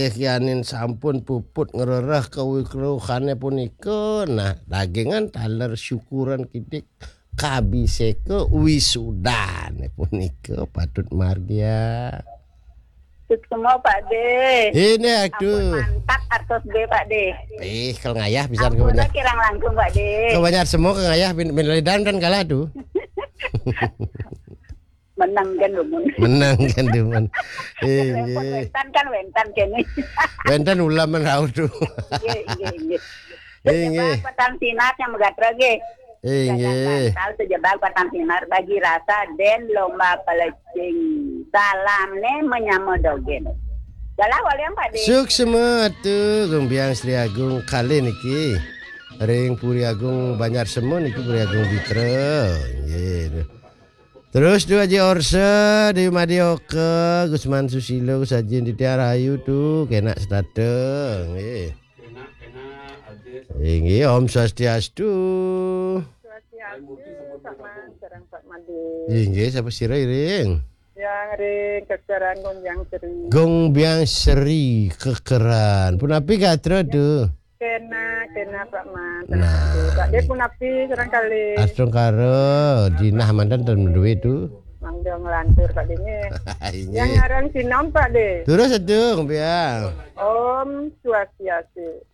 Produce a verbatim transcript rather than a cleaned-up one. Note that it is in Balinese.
Kianin sampun puput ngrereh kawikruhane punika. Nah, dagingan taler syukuran kidik kabiseka wisudane punika patut margia. Suksma, Pak De. Ini aku. Ampun mantap artos B, Pak De. Eh, kalau ngayah bisa. Ampun kebanyakan. Kirang langkung, Pak De. Kebanyakan semua ke ngayah bin, bin Ledan kan kalah tuh. Menang kan, Dumun. Menang kan, Dumun. Iya. Wénten kan, wénten kene. Wénten ulam men rauh tuh. Iya, iya, iya. Iya, iya. Sejebak petang sinar yang megatra ge. Iya, iya. Jangan bantal sejebak petang sinar bagi rasa den lomba pelecing. Salam ne menyama dogen. Galah walian, Pak De. Suksma tuh, Gung Biang Sri Agung kali niki. Ring Puri Agung Banjar Semu niki Puri Agung Bitra. Nggih. Terus tu Haji Orsa, Dewi Madioka, Gusman Susilo, Gus Haji Ditya Rahayu tu, kenak setata. Nggih. Inggih, Om Swastiastu. Swastiastu, Pak Man, sareng Pak Made. Inggih, sapa sira iring? Yang ring kekeran Gung Biang Sri. Gung Biang Sri kekeran. Punapi gatra tu? Kena, kena, Pak Man. Nah. Pak De punapi sareng kalih? Astungkara, jinah manten ten duwe tu. Mangga nglantur, Pak De, nggih. Inggih. Yang ngaran sinom, Pak De. Terus itu, Gung Biang. Om Swastiastu.